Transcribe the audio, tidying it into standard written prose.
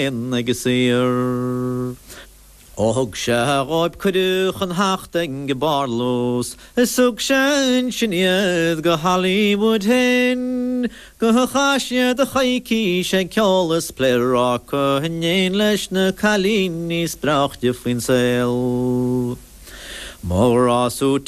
Ag an saor. Ó thug sé dhóib cuireadh chun theacht ag an bparlús is thug sé ansin iad go Hollywood féin go chaith siad coicís ag ceol is pléaráca in éin leis na cailíní is breáichte faoin saol. Mo ghrá sú.